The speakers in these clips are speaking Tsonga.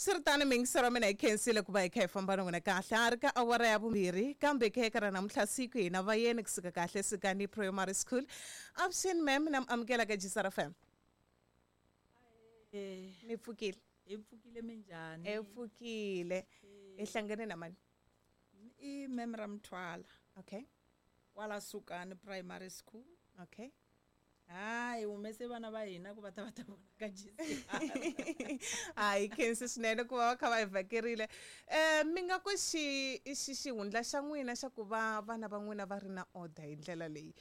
Swi ri tano miyingiselo wa mina hi khensile ku va hi kha hi famba na n'wina kahle a ri ka awara ya vumbirhi kambe khe ka ra namuntlha siku hina vayeni kusuka kahle Sukani Primary School. Avuxeni ma'am na mi amukela ka Gisara FM. Mi pfukile? Hi pfukile minjhani? Hi pfukile. Hi hlangane na mani? I ma'am Ramthwala. Okay. Kwala Sukani Primary School. Okay. Hayi humese vana va hina ku va ta va ta vona ka GCR. Hayi khensi swinene ku va va kha va hi vhakerile. Mi nga ku xi xi xihundla xa n'wina xa ku va vana va n'wina va ri na order hi ndlela leyi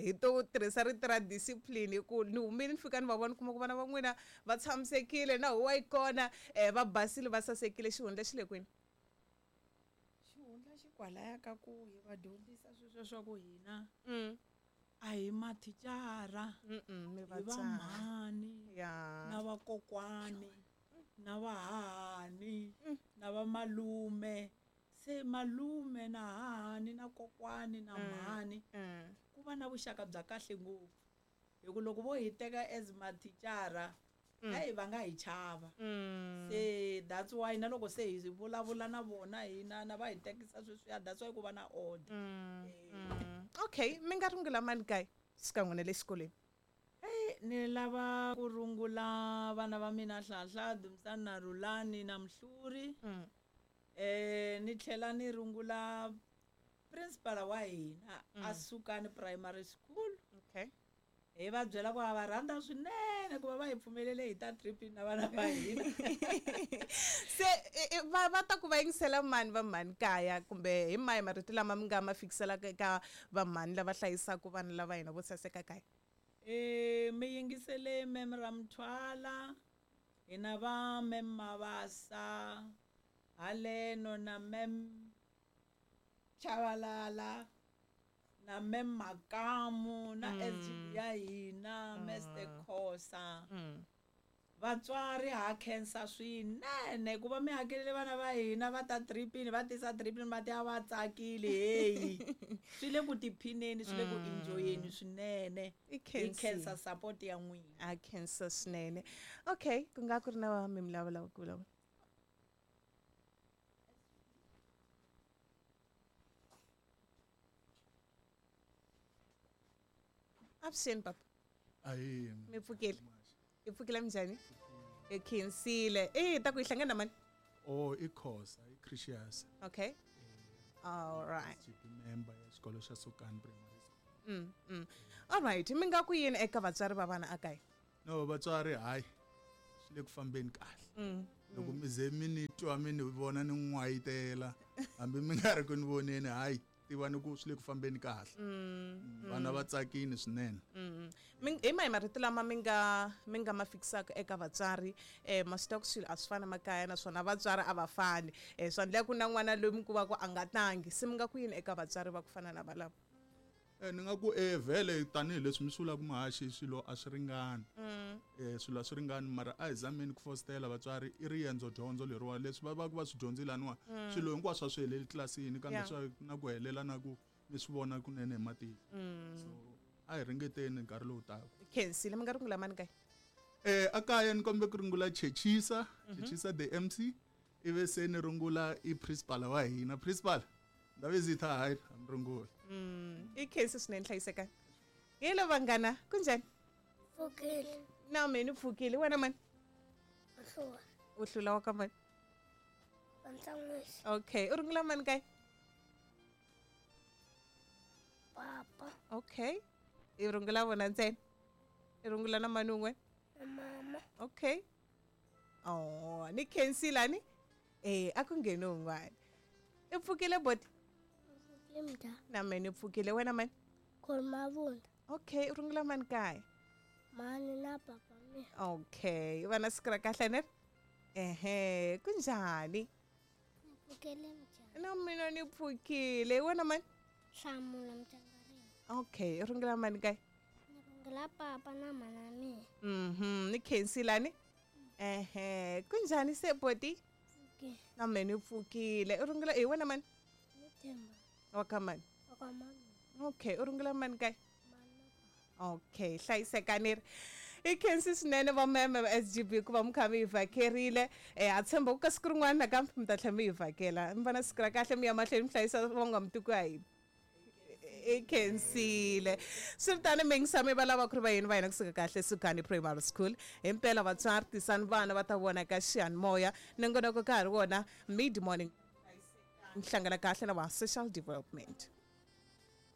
hi to tirhisa rito ra discipline hi ku ni humile ni fika ni va vona kuma ku vana va n'wina va tshamisekile na huwa yi kona va basile va sasekile xihundla xi le kwini? Xihundla xi kwalaya ka ku hi va dyondzisa sweswo swa ku hina a hi mathicara mi hi vatswari. vamhani na vakokwani na vahahani na vamalume se malume na hahani na kokwani na mhani ku va na vuxaka bya kahle ngopfu hi ku loko vo hi teka as mathicara hayi va nga hi chava se that's why na loko se hi vulavula na vona hina na va hi tekisa sweswiya that's why ku va na order. Okay, mi nga rungula mani kaya xikan'we na le xikolweni? Ni lava ku rungula vana va mina Hlahla, Dumisani na Rhulani na Mhluri. Ni tlhela ni rungula principal wa hina a Sukani Primary School. Okay. Hi va byela ku ha va rhandza swinene ku va va hi pfumelele hi ta tripini na vana va hina. Se va ta ku va yingisela mani va mhani kaya kumbe hi mahi marito lama mi nga ma fikiselaka eka vamhani lava hlayisaka vana lava hina vo saseka kaya? Mi yingisele ma'am Ramthwala, hina va ma'am Mabasa, haleno na ma'am Chavalala, na ma'am Makamu, na SGB ya hina, Mr Khosa. Vatswari ha khensa swinene ku va mi hakelele vana va hina va ta tripini, va tisa tripini va ti a va tsakile heyi. Swi le ku tiphineni, swi le ku enjoyeni swinene. I Hi khensa. khensa support ya n'wina. A khensa swinene. Okay, ku nga ku ri na mi vulavula ku vulavula. Avuxeni papa. Ahee. Mi pfukile? I pfukile minjhani? Hi khensile. Ta ku hi hlangana na mani? Oh, i Khosa, i Christians. Okay. All right. SGB member ya xikolo xa Sukani Primary School. All right, mi nga ku yini eka vatswari va vana ekaya? No, vatswari hayi swi le ku fambeni kahle. Loko mi ze mi ni twa mi ni vona ni n'wayitela hambi mi nga ri ku ni voneni hayi tiva ni ku swi le ku fambeni kahle. Vana va tsakile swinene. Hi mahi marito lama mi nga ma fikisaka eka vatswari? Ma swi tiva ku swilo a swi fani makaya naswona vatswari a va fani. Swa endleka ku na n'wana loyi mi kuma ku a nga tlangi. Se mi nga ku yini eka vatswari va ku fana na valavo? Ni nga ku vhele tanihileswi mi swi vulaka muhaxi swilo a swi ringani. Swilo a swi ringani mara a hi zameni ku fositela vatswari i riendzo dyondzo leriwa leswi va va ku va swi dyondzile laniwa swilo hinkwaswo a swi heleli tlilasini kambe swa na ku helela na ku mi swi vona kunene hi matihlo. So a hi ringeteni nkarhi lowu taka. Khensile, mi nga rungula mani kaya? A kaya ni kombe ku rungula Chechisa, Chechisa the MC, ivi se ni rungula i principal wa hina. Principal, Ndabezitha hayi a mi rungula. I khensi swinene hlayisekani. Hello vanghana, kunjhani? Pfukile. Na mina ni pfukile. Wena mani? U hlula. U hlula wa ka mani? Vantsan'wisi. Okay, u rungula mani kaya? Papa. Okay. I rungula vona ntsena? I rungula na mani un'we? Na mama. Okay. Oh, ni khensile ni? A ku ngheni un'wana. I pfukile boti? Pfukile. Na mina ni pfukile. Wena mani? Khomavunda. Okay, u rungula mani kaya? Mani na papa mina. Okay, va na siku ra kahle ne? Ehe, kunjhani? Ni pfukile mjhani. Na mina ni pfukile. Wena mani? Hlamula mtyangarini. Okay, u rungula mani kaya? Ni rungula papa na mana mina. Ni khensile ni? Ehe, kunjhani se boti? Pfukile. Na mina ni pfukile. U rungula hi wena mani? Ni Themba. Wa ka mani? Wa ka mani. Okay, u rungula mani kaya? Mani na papa. Okay, hlayisekani ri. I khensi swinene va meme va SGB ku va mi kha mi hi vhakerile. Ha tshemba ku ka siku rin'wana nakambe mi ta tlhela mi hi vhakela. Mi va na siku ra kahle mi ya mahlweni mi hlayisa van'wamtiko ya hina. I khensile. Swi ri tano mi yingisa mi va lava ku ri vayeni va hina kusuka kahle Sukani Primary School. Himpela vatswari tisani vana va ta vona ka xiyanimoya. Nongonoko ka ha ri wona mid morning. Hlangana kahle na va social development.